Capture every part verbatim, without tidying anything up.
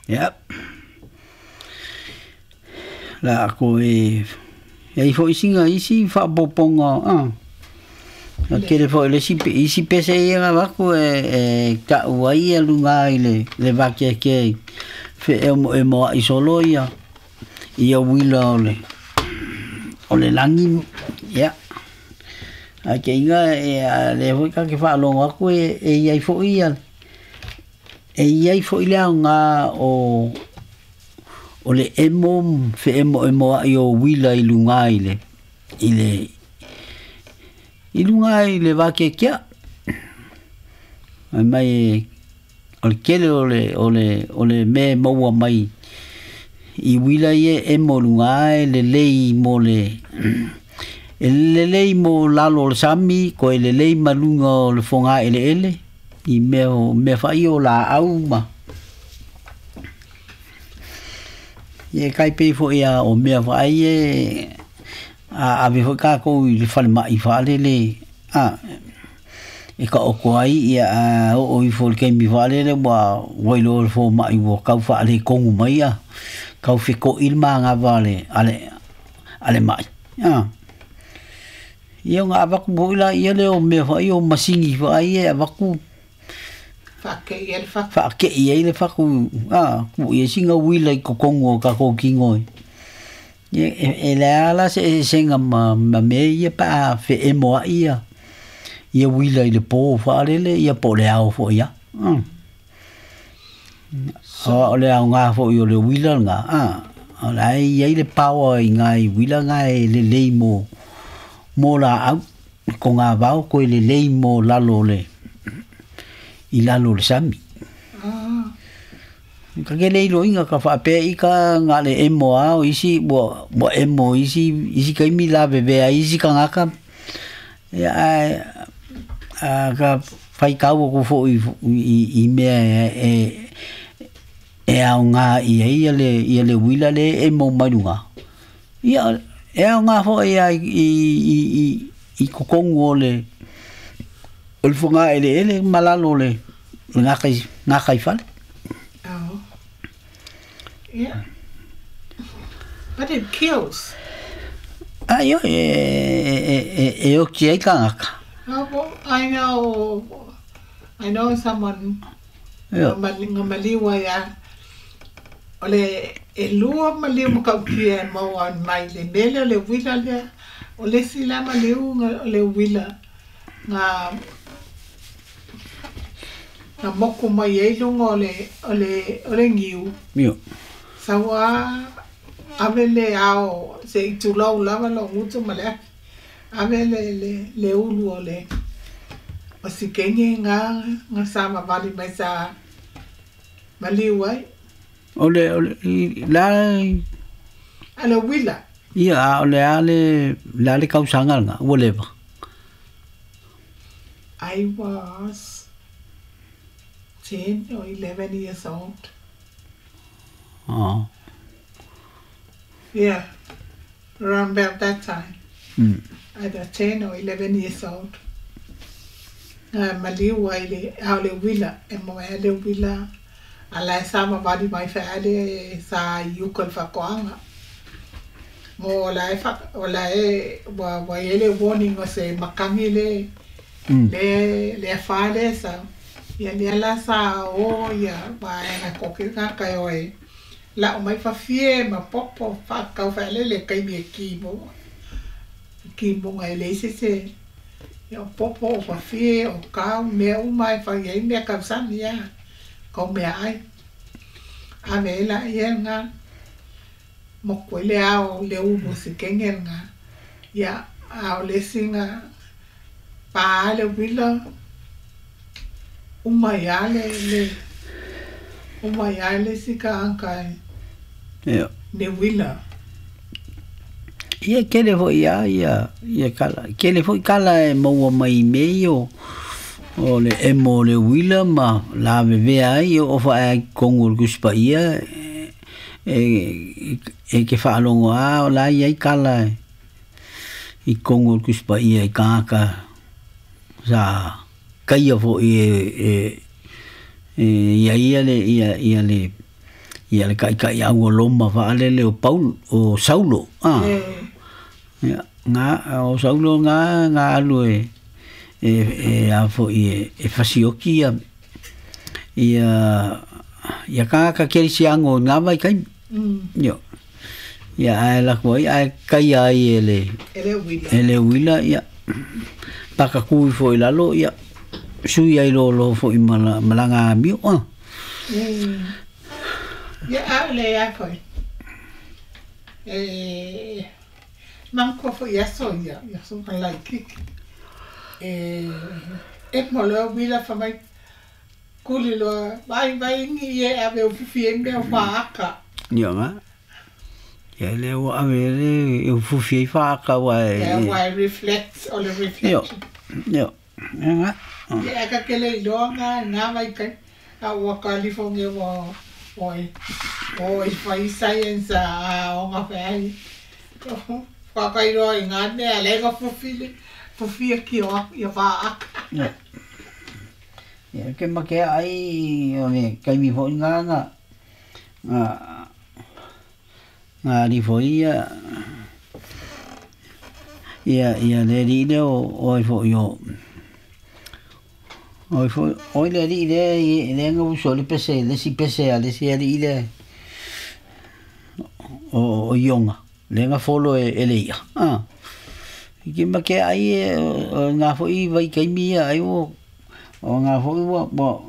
Ia la ko e e foi singa isi fa poponga ah a kele foi le si isi pese ia ga ko e e ka uai e lunga i le le va ke ke fe e mo e mo i solo ia ia wila o le o le langi ia a ke inga e le foi ka ke fa longa ko e e ia foi ia e ia foi le nga o o le emo fe emo emo ai o wila i lunga i le i le i lunga i le va ke kia mai o le kele o le o le o le me maua mai i wila ie emo lunga e le lei mo le e le lei mo lalo o le sami ko e le lei malunga o le fonga ele ele i mea o mea fai o la au ma ye kai pe fo ia o mea fai e a ave fo ka ko i le fale mai fa le le a e ka o ko ai ia a o i fo ke mi fa le le wa wa lo fo mai wo ka fa le kongu mai ia ka fe ko il ma nga va le ale ale mai a ia nga va ku la ia le o mea fai o masingi fa ai e va ku fa ke ia le fa fa ke ia le fa ku a ku ia singa wila i kokongo ka ko kingo e e le ala se senga ma ma me ia pa fe e mo ia ia wila i le po fa le le ia po le ao fo ia o le ao nga fo i le wila nga a o la ia i le power i nga i wila nga e le lei mo mo la au ko nga vao ko le lei mo lalo le i lalo le sami. Ah. Ka ke le ilo inga ka fa pe i ka nga le emo a o isi bo bo emo isi isi kai mi la bebe a isi ka ngaka ya a ka fai kau ko fo i i mea e e au nga i ia le ia le wila le emo malunga. Ia e au nga fo ia i i i i kokongo le o le fonga ele ele malalo le nga kai nga kai fale. Oh. Yeah. But it kills. Ai e e e e o ki ai kangaka. Oh, well, I know I know someone yeah. Nga maliwa ya o le e lua maliu makaukia e maua mai le mele o le wila lea o le sila maliu o le wila nga na moku mai e lunga o le o le o le ngiu. Mio. Sawa ave le ao se i tulau lava lo ngutu ma le ave le le le ulu o le o si kenge nga nga sama vali mai sa maliu ai. O le o le la ale wila. Ia o le ale la le kausanga nga o leva. I was ten or eleven years old. Oh. Yeah, around about that time. Mm. Either ten or eleven years old. Uh, maliu ai le au le wila, e mo ale wila, ala sama vali mai fa ale sa yukol fa koanga. Mo la e fa o la e wa wa ele warning o se makangi le mm. le le fa le sa ia le la sa o ia ba na ko ke ka ka o e la o mai fa fie ma popo fa ka fa le le kai mi ki mo ki mo ngai le se se ia popo o fa fie o ka me o mai fa ia me ka sa ia ko me ai a me la ia nga mo ko le ao le u mo se kenge nga ia ao le singa pa le wila uma ia le le uma ia le sika anka ia ne wila ia kele fo ia ia ia kala kele fo kala e maua mai me o o le emo le wila ma la veve ai o fa ai kongo kuspa ia e e ke fa longo a o la ia kala i kongo kuspa ia i kaka sa kaia fo i e e ia ia le ia ia le Ia le kai kai au o Loma faalele o Paul o Saulo ah ia nga o Saulo nga nga alu e e e a fo i e fasioki ia ia ia ka ka kerisiango nga vai kai yo ia ai la ko ai kai ai ele ele wila ele wila ia paka ku fo i lalo ia sui ai lo lo fo i mala malanga mi o ia a le a ko eh man ko fo ia so ia ia so ka like kik eh e mo lo wila fa mai kuli lo vai vai ngi e a ve fufi e me fa aka ia ma ia le o a ve le e fufi e fa aka wa e wa reflect o le reflection yo yo ia ka ke le lo nga na vai kai a wa California wa o o i fai science a o nga fa fa kai ro i nga me a le ga fufi le fufi ki o ia fa aka ia ke ma ke ai o me kai mi fo nga nga nga nga ri fo ia ia ia le ri le o o fo yo o fo o le ri le le nga uso le pese le si pese a le si ri le o o yonga le nga folo e le ia ah ke ma ke ai nga fo i vai kai mi ai o o nga fo wa bo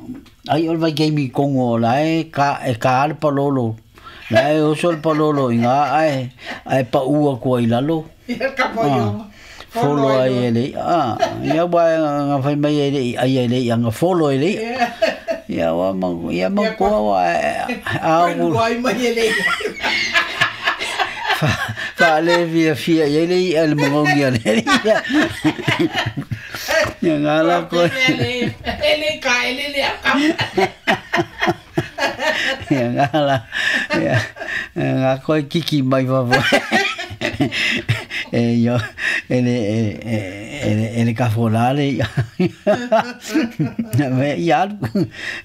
ai o vai kai mi kongo la e ka e ka al palolo la e o sol palolo inga ai ai pa ua ko i lalo ia ka po yo folo ai ele ah ia wa nga fai mai ele ai ele ia nga folo ele ia wa ma ia ma ko wa a o ai mai ele fa fa le via fia ia ele al mongi ele ia ia nga la ko ele ele ka ele le ka ia nga la ia nga ko kiki mai va e io ele ele ele cafolale me ia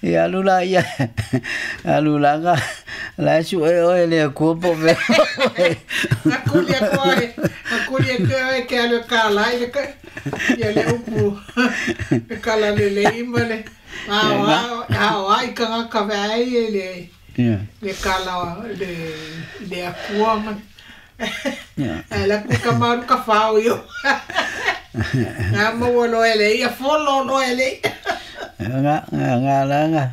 ia lula ia alula ga la su e o ele cuerpo me na kulia ko na kulia ke ke ale kala ile ke ia le upu kala le le imale a a a i ka ka vai ele le kala le le akua man Ela ku ka maru ka fao yo. Nga mo lo ele ia folo lo ele. Nga nga nga nga.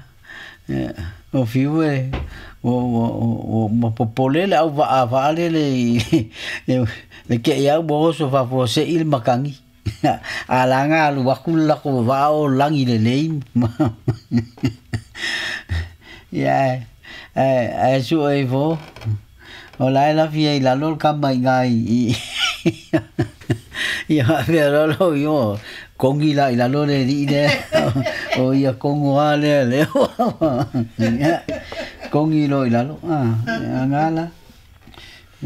O fiu e o o o mo popole le au va va le le le ke ia bo so fa fo se il makangi. Ala nga lu wakula ko va o langi le le. Ya eh eh su e vo. O la la fia i la lol ka mai ngai i ia vera lo yo kongi la i la lol le le o ia kongo a le le kongi lo i la lo ah ngala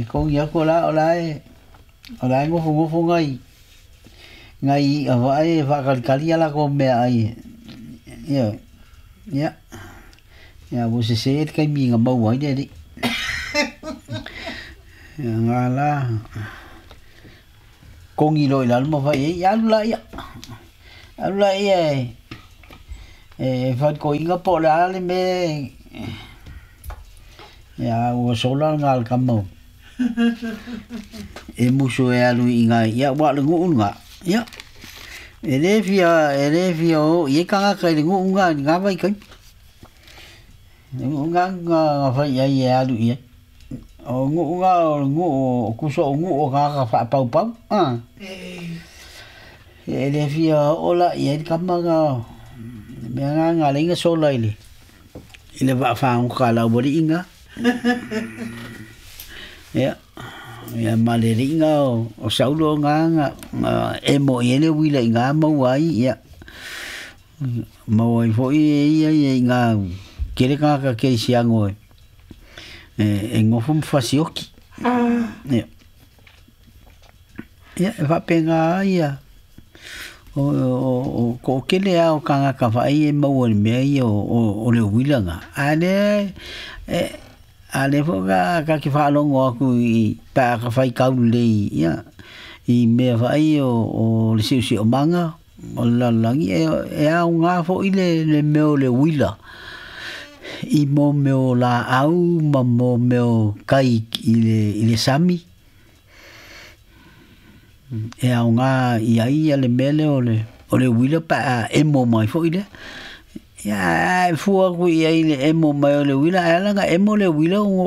i kongi ako la o la e o la ngo ngo ngai ngai a va e va kali ala ko me ai ia ia ia wo se se kai mi nga mau ai le nga la kongi lo ila mo fa ia la ia la ia e fa ko inga po la le me ia o sola nga ka mo e muso e alu inga ia wa le ngu nga ia e le fia e le fia o ye ka ka le ngu nga nga vai kai ngu nga nga fa ia ia alu ia o ngu nga o ngu o kuso o ngu o ka ka fa pau pau ah e le fia o la ia ka ma nga me nga nga le nga sola ile ile va fa un ka la bori inga ia ia ma le inga o o saulo nga nga e mo ile wila inga mo ai ia mo ai fo ia ia inga kere ka ka ke siango e e ngofum fasioki. Ah. Ia. Ia va penga ia. O o o ko kele a o kanga ka vai e mau le mea ia o o le wila nga. A le e A le fo ka ka ke whaalongo aku i pā ka whai kaulei ia i mea whai o, o le siusi o manga o le lalagi e, e au ngā fo i le, le meo le wila i mō meo la au ma mō meo kai i le, i le sami e au ngā i ai ia le mele o le o le wila pa a emo mai fo i le ia e fua ku i ai le emo mai o le wila ai langa emo le wila o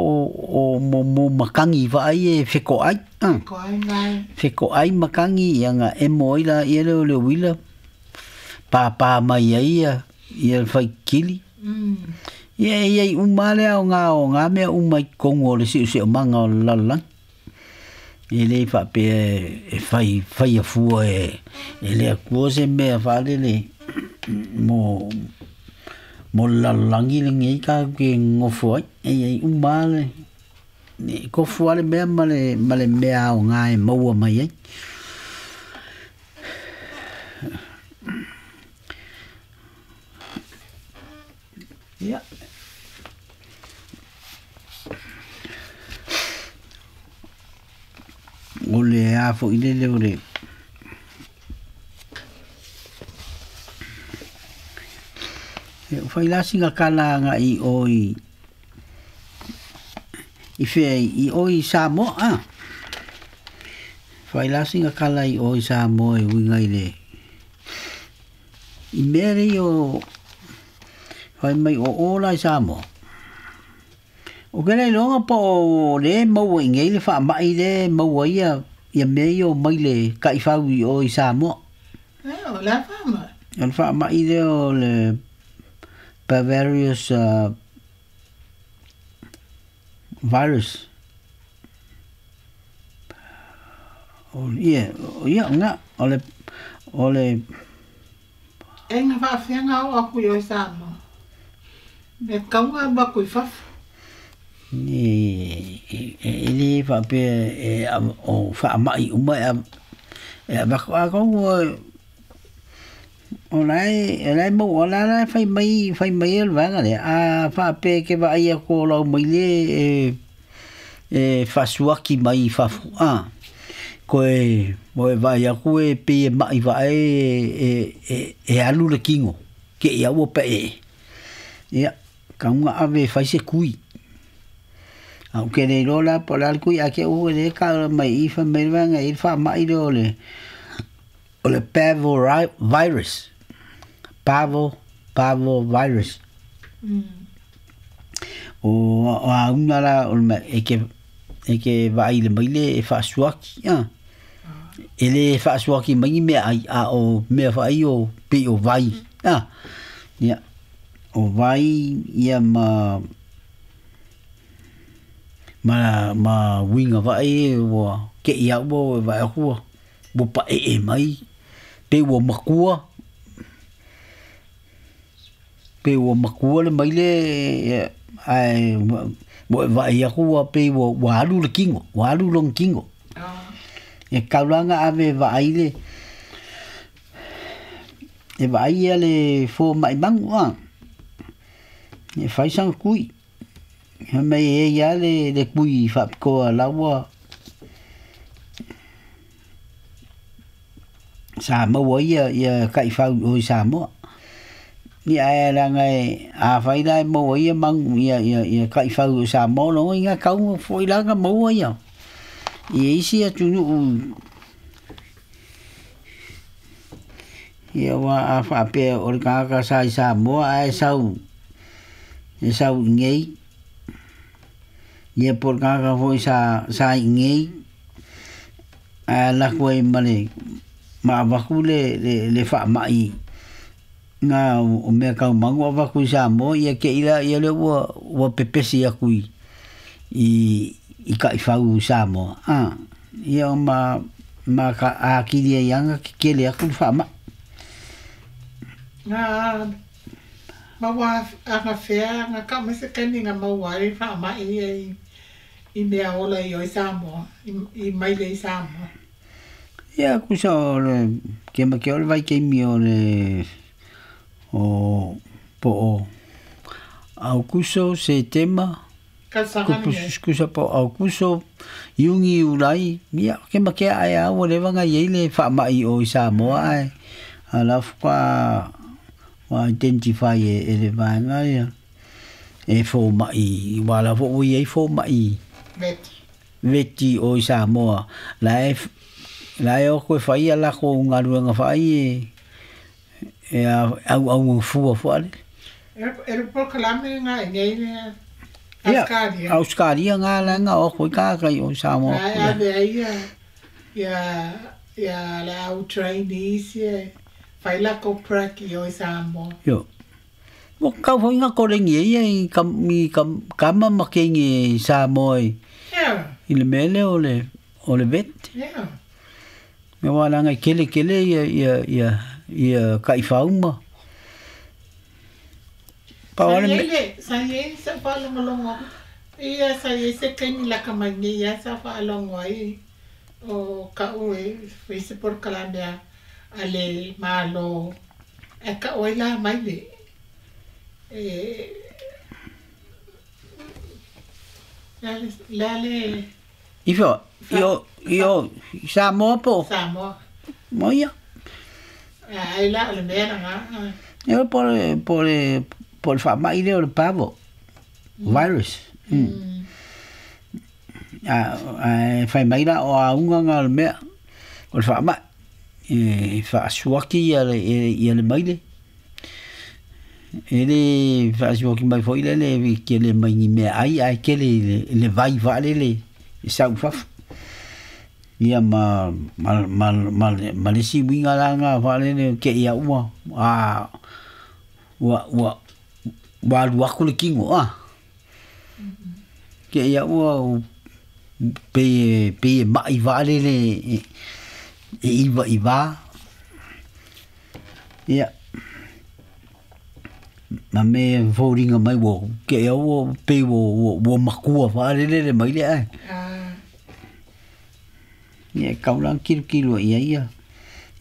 o mo mo makangi fa ai e feko ai Ko ai ngai. feko ai makangi ia nga emo ai la ia le o le wila pa pa mai ai ia ia le whai kili Mm. ia ia i umale au ngā o ngā mea uma i kongo o le siu o manga o le lalagi e le whapea e whai whai a fua e e le akua se mea whalele mo mo le lalagi le ngei ka ke ngofo ai e ai umale ne kofu ale mea ma le ma le mea o ngā e maua mai ai ia o le a fo i le le o le e o whai lasinga kala nga i o i i whea i o i Samoa a whai lasinga kala i o i Samoa e winga i le i mea rei o whai mai o ola i Samoa o ke nei longa po o le maua i ngei le wha mai le maua ia ia mea i o mai le kaiwhau i o i Samoa E o la fama. o le wha mai le o le Bavarius uh, virus o ia o ia nga o le o le E nga whaafenga o aku i o Samoa. Me kaunga ma kui fafu. e e e le whapea e a- o wha mai uma e a- e a wako a kau o lai e lai mau o la lai whai mai whai mai e le vanga le a whapea ke wa ai a ko lau mai le e e whasuaki mai i whafu a koe mo e vai aku e pe e mai wa e e e e alu le kingo ke ia ua pe e ia kaunga ave whai se kui au ke nei lola po la kui a ke u le ka mai i fa mai vanga i fa mai le o le o le parvo virus parvo parvo virus Mm. o o a una la o le e ke e ke vai le mai le e fa suaki a e le fa suaki mai me ai a o me fa ai o pe o vai a ia o vai ia ma ma ma winga vai ua ke ia ua vai akua ua pa e e mai pe ua makua pe ua makua le mai le ai ua vai akua pe ua ua alu le kingo ua alu long kingo Ah. e kaulanga ave vai le e vai ia le fo mai mangu a e fai sang kui he mai e ia le le kui whapikoa laua sa maua ia ia kaiwhau o i Samoa ia e langa e a whai lai maua ia mangu ia ia ia kaiwhau o Samoa longo i ngā kaunga fo i langa maua ia i isi atunu ia wa a whapea o le kāka sa i Samoa a e sau e sau i ngei ia po le kāka foi sa sa i ngei a lako ai ma le ma avaku le le le whaamai ngā o mea kau mangu avaku i Samoa ia ke ila ia le ua ua pepesi aku i i i kaiwhau i Samoa a ia o ma ma ka a kiri ai anga ke kele aku le whaamai Nga maua anga fea nga ka mese kani nga maua i wha mai i i mea ola i o i Samoa i, i mai le i Samoa. Ia kusa o le ke ma ke o le vai ke mi o le o po o au kuso se tema Ka Tausaga lenei. Kusa po Aukuso, Iugi Iulai, ia ke ma ke ae a ua leva ona i ai le faama'i o i Samoa ae a la faatoa ua identify e e le vaega ia e foma'i ua la fo'i ua i ai foma'i Veti. Veti o i Samoa la e la e oko e fai ia lakou galuega fa'ai e e auaugafua fo'ale. E le polokalame ga i nei lea Ia, Auskalia. Auskalia ga laga o oko i kāka i o i Samoa. Ae ave ai ia ia ia le au trainees ia fai lakou prac i o i Samoa. Io. Ua kau foi nga kolegi e ia i ka, i ka, kama ma keigi i Samoa i, Ia. I le mea lea o le, o le vet. Ia. Mea ua laga i kele kele ia, ia, ia, ia kaifauma. Pau Sa le i ai me. Le, sa i ai sa faalogologo ia sa i ai se taimi laka mai nei ia sa faalogo ai o ka'u e fai se polokalame a a le Malo ae ka'u ai la mai le e le a le a le Ifo, fa i o, i fa o, i Samoa po o Samoa. Moia. Ai la o le mea lagā. Ia po le po le po le faama'i lea o le parvo virus. Mm. A ae fai mai la o auga nga o le mea o le faama'i e faasuaki ia le ia le maile. E le faasuaki mai foi le le kele mai ni mea ai ae kele i le, le vai faalele e sau i fafo. Ia ma ma ma ma ma le isi uiga la ga faalele ke ia ua a ua ua ua alu aku le kino a. Ke ia ua pe pe ma'i faalele e e iva i va. Ia ma me foliga mai ua ke ia ua pei ua ua ua makua faalele le mai le ae. Ah. Ia e kau la kilokilo i ai ia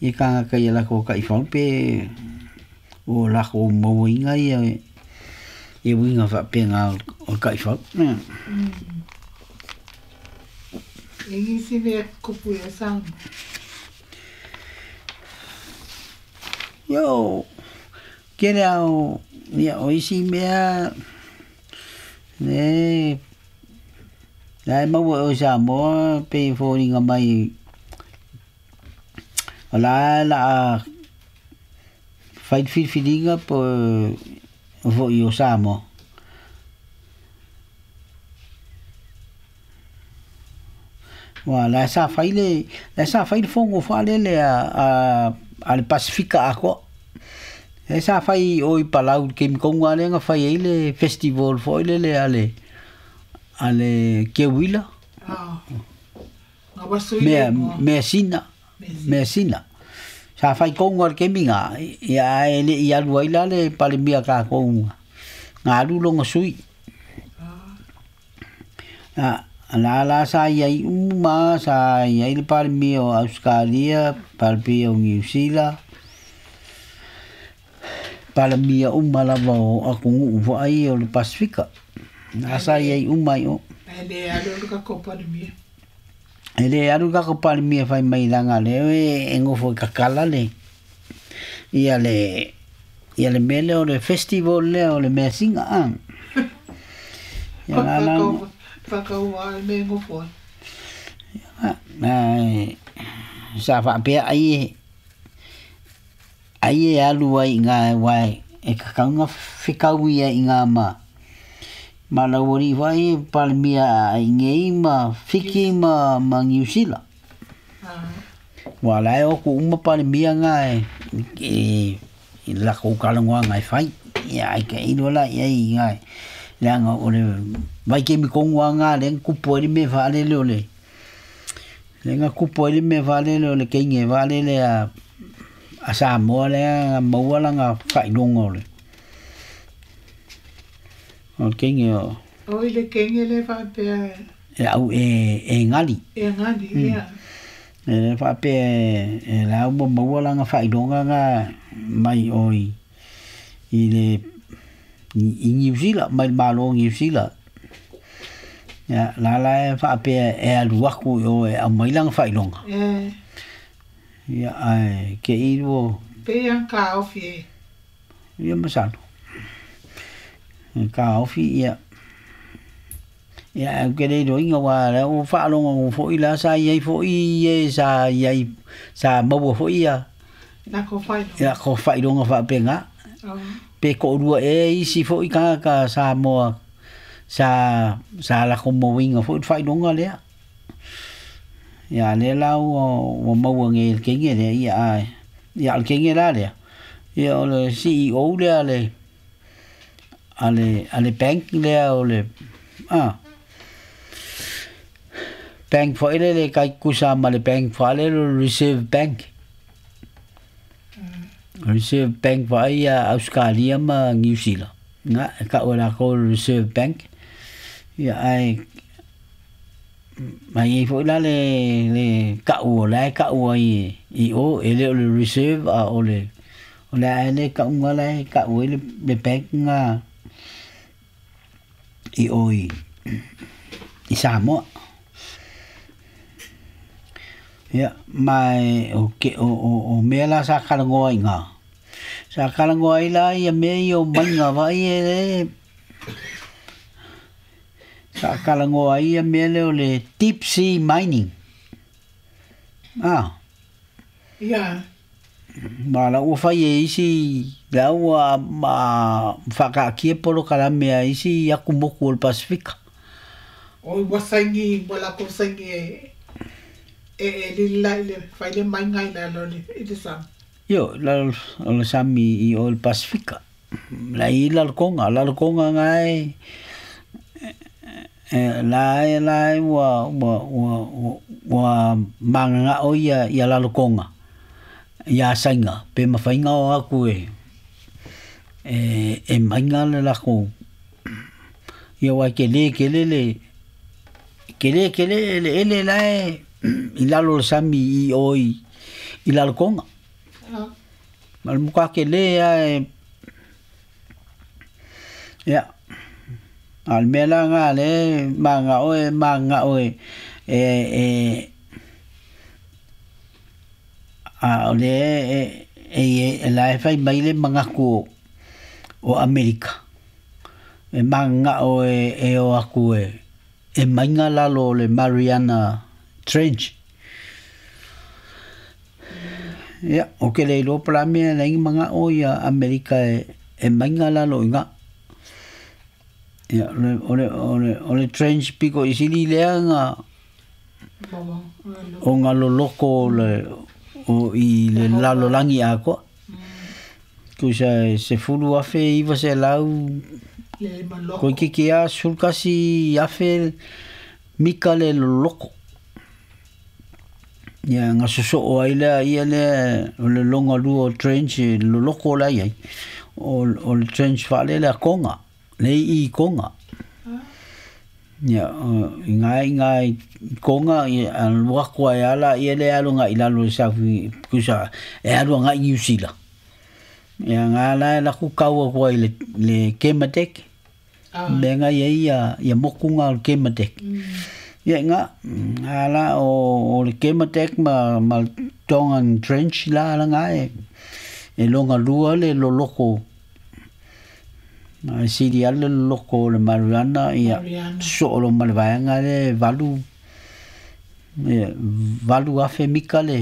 ia kānaka ia lako kaifau pe o lako mauaina ia ia uiga faapega o le kaifau. Mm. E nisi mea kupu ia Samoa. Ia o kele a o ia o isi mea le la e maua o Samoa pe foliga mai o la la fai le filifiliga po fo'i o Samoa. Ua la sa fai le la sa fai le fogo faalele a a a le Pasifika atoa. E sa fai o i Palau i le taimi tonu lava lea na fai ai le festival foi lele a le a le Keuila. Ah. Nga wasu i le Mea igoa. mea sina, Mea mea sina. sina. Sa fai tonu lava i le taimi na, ia ae le'i alu ai la le Palemia tatou na alu lona sui. Ah. A la la sa i ai uma, sa i ai le Palemia o Auskalia, Palemia o Niu Sila, Palemia uma lava o atunuu fo'ai o le Pasifika. Na Ae sa i le ai uma i o. Ae le alu le tatou Palemia. E le alu tatou Palemia fai mai laga lea e e nofo i kakala le ia le ia le mea lea o le festival lea o le measina a. Ia la la Whakau whakaua le mea e nofo ai. Ae sa faapea ai e ai e alu ai i gā aua e tatau ona fekau ia i gā ma ma laualii foi e Palemia a inei ma Fiti ma ma Niu Sila. Ah. Ua la e o atu uma Palemia gā e e i le latou talanoaga e fai. Ia ae tailo la i ai i gā leaga o le vaitaimi tonu lava gā lea na tupu ai le mea faalele o le lea na tupu ai le mea faalele o le teine faalele a a Samoa lea na maua lana faailoga o le o le teine o Oi le kenge le faapea e au e e gali. E gali, Mm. ia. E le faapea e la ua maua lana faailoga ga mai oi i le i Niu Sila mai le Malo o Niu Sila. Ia la la e faapea e alu aku i o e aumai lana faailoga. E. Ia ae ke i ua Pe ia kaofi e. Ia masalo. E kaofi ia. Ia au ke le iloiga ua lea ua faalogo fo'i la sa iai fo'i e sa iai sa maua fo'i ia. Na ko faailoga. Ia ko faailoga faapega. Oh. Pe ko'olua ea isi fo'i tagata Samoa sa sa lako mauiga fo'i le faailoga lea. Ia lea la ua ua maua nei e le kege lea ia ae ia o le kege la lea. Ia o le C E O lea a le a le a le bank lea o le a bank foi lele kai kusa ma le bank fa le Reserve Bank. Reserve Bank fa ia Australia ma New Zealand. Nga ka o la ko Reserve Bank. Ia ai mai foi la le le ka'u o la e ka'u ai i o e le o le reserve a o le o le ae le ka'uga la e ka'u ai le le bank nga i o i i Samoa. Ia ma e o ke o o o mea la sa kalagoa i ngā. Sa kalagoa ai la ia mea ia o maiga vai e le sa kalagoa ai ia mea lea o le deep sea mining. Ah. Ia. Ma la ua fai e isi la ua ma whakaakia polokalame a isi aku moku o le Pasifika. O ua saini, ua lakou saini e e e lili la i le fai le maiga i lalo i le sami. Io, lalo o le sami i o le Pasifika. La i lalo konga, lalo konga ngai e la e la e ua ua ua ua manganga'o ia ia lalo konga. Ia sainga pe mawhainga o aku e e e mainga le lako ia wai ke le ke le le ke le ke le le ele la e i lalo le sami i o i i lalo konga. Ah. Ma le muka ke le a e ia a le mea la ngā le manga'o e manga'o e e e a o le e e e la e fai mai le mangaku o Amerika. E manga'o e e o aku e e mainga lalo o le Mariana Trench. Ia, o ke le iloa pala mea le inga manga'o ia Amerika e e mainga lalo i ngā. Ia, o le, o le, o le, o le trench piko i sili lea nga Maua. o ngā loloko o le o i le lalolangi atoa. Kusa e sefulu afe iwa selau Le maloko. Koe kiki a sefulukasi afe mika le loloko. Ia nga soso'o ai lea ia lea o le longa lua o trench e loloko la iai. O, o le trench whaale lea konga. Le i konga. Ia, o, i ngā i ngā i konga i a luako ai ala ia le alo ngā i lalo e saufi kusa e alo ngā i New Zealand. Ia ngā la e laku kaua kua i le, le Kermadec. Ah. Me ngā ia ia, ia moku ngā o le Kermadec. Mm. Ia ngā, ngā la o, o le Kermadec ma, ma Tongan Trench la ala ngā e, e longa lua le loloko. Ma e sili ale le loloko o le Mariana ia Mariana. so'o lo ma le vaega le valu ia, valu afe mika le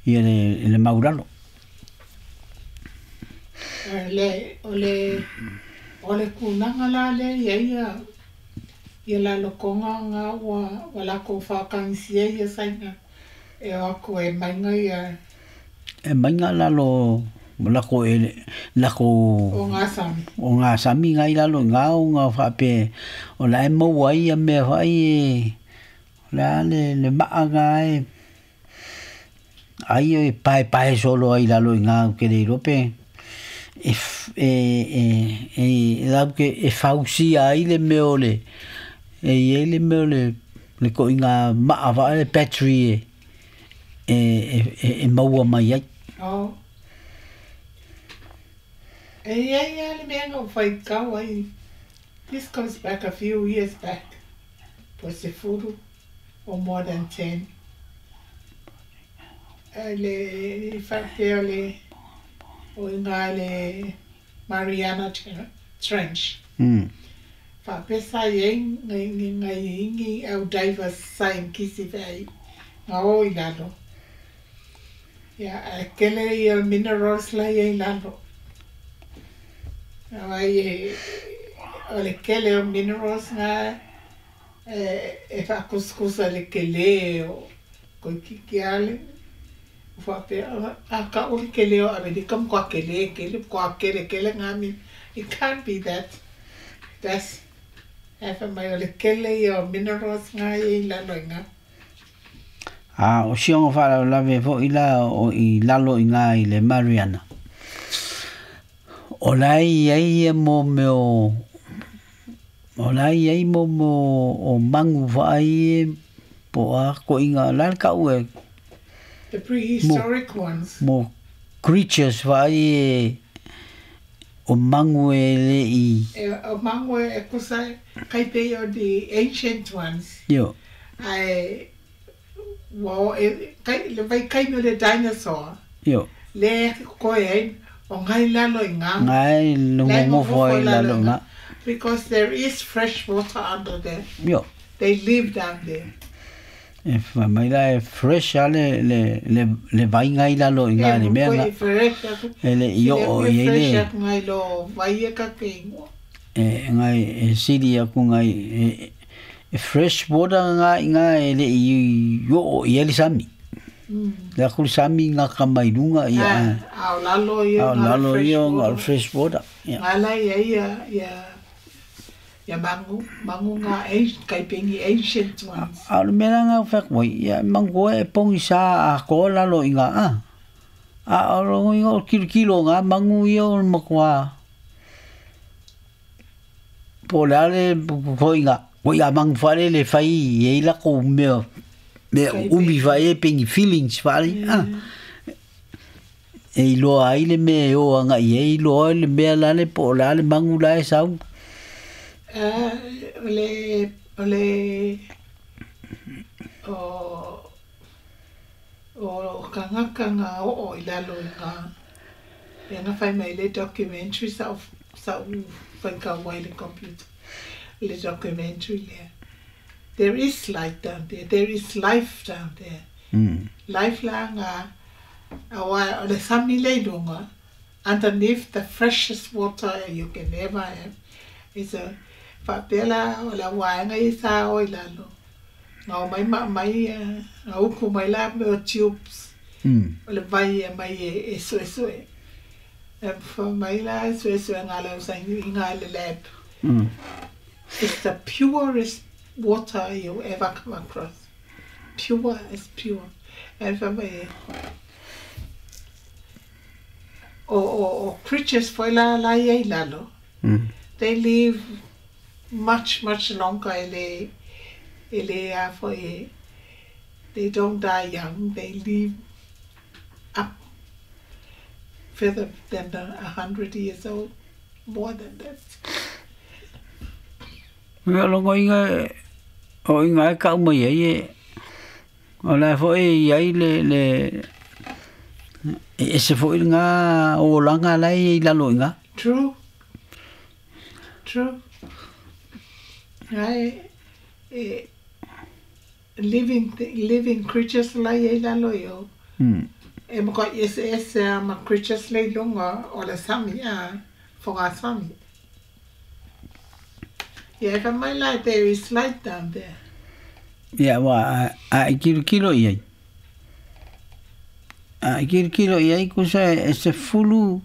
ia le, le maulalo. Le, o le, o le kulaga la le ia ia ia lalokoga ga ua ua lakou faakagisia ia saina e o aku e maiga ia E mainga lalo lako e lako o gā sami. O ngā sami ngai lalo i ngā o ngā whaape o la e maua ai ia mea whai e o la le, le maa ngā e ai o e pae pae solo ai lalo i ngā o ke le iloa pe e, e, e, e, lau ke e fausia ai le mea o le e i ai le mea o le le ko i ngā maa wha le battery e e, e, e, e maua mai ai. O. E ia ia le mea na ou faitau ai. This goes back a few years back. Po sefulu or more than ten. Le faapea le o iga le Mariana Trench. Mm. Faapea sa iai gaiigi au divers saiankisi feai ga o i lalo. Ia ae kele ia minerals la ia i lalo. Auai e o le kele o minerals ga e e faakusikusa i le kelē o koikiki ale faapea a ka'u le kelē o Amerika makuā kelē kele makuā kele kele gami. It can't be that. That's ae faimai o le kele ia o minerals ga ia i lalo i ga. A o sioga faalavelave foʻi la o i lalo i gā i le Mariana. O la i ai ia mo mea o o la i ai mo mea o magu faai e po o a koʻiga la le ka'u e The prehistoric ones. Mo creatures faai e o magu e leʻi E o magu e kusa kai pei o the ancient ones. Io. Ae ua o e kai le vaikaimi o le dinosaur. Io. Lea e koe ai o gai lalo i gā. Gai logogofo ai lalo i gā. Because there is fresh water under there. Io. They live down there. E fai mai la e fresh a le le le le vaiga i lalo i ngā le mea ngā. E fresh aku. E le i oo i E le. Fresh aku ngai lo vai e ka ke ingoa. E ngai e sili aku ngai e, e fresh water ngā i ngā e le i oo i ele sami. Mm. Le aku le sami ngā ka mai lunga i a. A o lalo ia A o lalo ia ngā fresh water. Ia. Ngā la ia ia ia ia mangu, mangu ngā ancient, kai pengi ancient ones. A o le mea la ngā whak wai, ia mangu e pongi sa a ko lalo i ngā a. A o rongo i ngā o kilo kilo ngā mangu ia o makua. Po le ale ko i ngā, ko i ngā mangu whare le whai i e lako mea, mea umi whai e pengi feelings whare. A. E iloa ai le mea e o anga i e iloa le mea lale po o le ale mangu la e sau. Uh, o le, o le, o, o kangaka ngā oo i lalo i ngā, e ngā whai mai le documentary sa o, sa o whai ka wai le computer, le documentary lea. There is light down there, there is life down there. Mm. Life la ngā, awa, o le sami le lunga, underneath the freshest water you can ever have. It's a, faapea la o le auaega ia sa o i lalo. Ga o mai ma mai ga uku mai la mea o tubes. Mm. O le vai e mai e, e suesue. E fa mai la e suesue ngā le usa i ngā le lab. Mm. It's the purest water you ever come across. Pure as pure. E fa mai e. O, o, o creatures foi la la ia i lalo. Mm. They live much, much longer. Ele, ele a foi, they don't die young. They live up further than a hundred years old, more than that. Ia longo inga o inga e kau mai ai e o la foi i ai le le e ese foi ngā o langa lai i lalo inga. True. True. Ai, e, living, living creatures lai e lalo io. Mm. E mo ka ese ese a ma creatures lai lunga o le sami a fonga sami. Yeah, if my light there is light down there. Ia wa a, a i kilo kilo i ai. A i kilo kilo i ai kusa e se fulu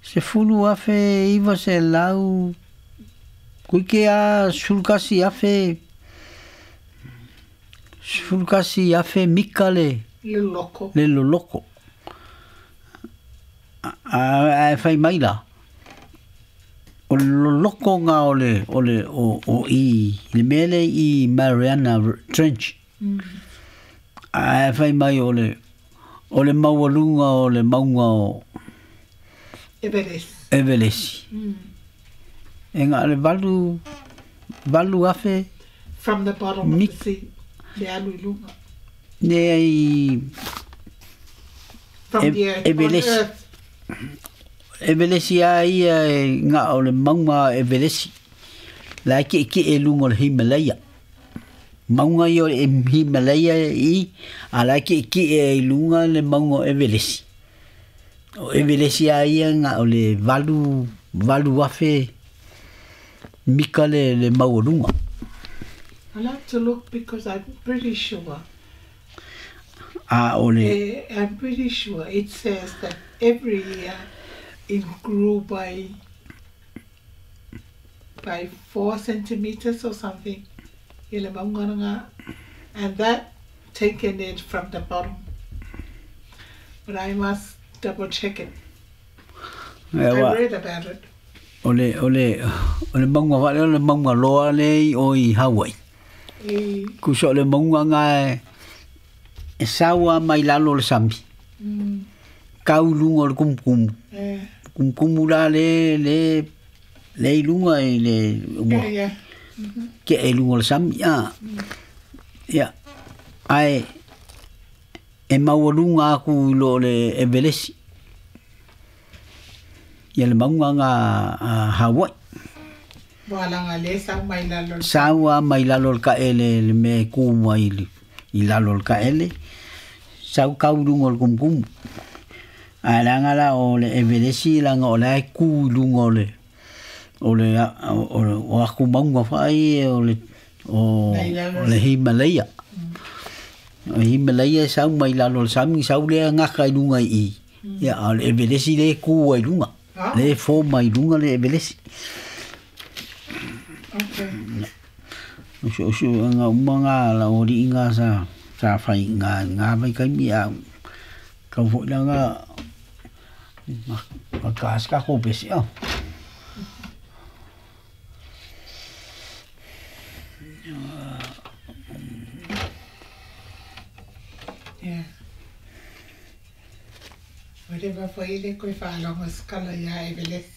se fulu afe iwa se lau kuike a sulkasi afe sulkasi afe mika le Le loko. Le loloko. A, a, a whai mai la. O le loloko ngā o le, o le, o, o i, le mele i Mariana Trench. Mm. A whai mai o le, o le maualunga o le maunga o Everest. Everest. Mm. E ngā le valu valu afe From the bottom of Mi- the sea. Le alu i luga. Ne ai From E- the earth. On Everest. earth. Everesi a ia e ngā o le maunga Everesi. La ke ke e lunga o le Himalaya. Maunga i o le Himalaya i a la ke ke e lunga le maunga o Everesi. O Everesi a ia ngā o le valu valu afe mika le le maualuga. I'll have to look because I'm pretty sure. A o le Eh, I'm pretty sure it says that every year it grew by by four centimeters or something. Ia le mauga lena. And that taken it from the bottom. But I must double check it. e I wa read about it. o le o le o le maunga wale o le maunga loa le o i Hawaii. Eh, Kuso o le maunga ngā e, e saua mai lalo o le sami. mm, Kau lunga o le kumukumu. eh, Kumukumu la le le le i lunga i le ua yeah, yeah. ke e lunga o le sami. A. Ia. Ai e maualuga aku i lo o le Everesi. Ia le maunga ngā a Hawaii. Ua laga le sau mai lalo. Saua mai lalo o le kaele le me ku mai i, i lalo o le kaele. Sau kau lunga o le kumukumu. A langa la o le Everesi langa o le ku i lunga o le o le o, o, o aku maunga whai o le o, Mai lalo. o le Himalaya. O Himalaya sau mai lalo o le sami sau lea ngaka i lunga i. Ia o le Everesi le ku ai lunga. Ah. Le fo mai lunga le Everesi. Okay. Usu usu nga uma ngā la o ri ngā sa sa whai ngā ngā mai kai mi a kau fo la ngā ma ma ka ska ko pesi a. Yeah. Whatever foi le koe whaalongo skala ia Everest.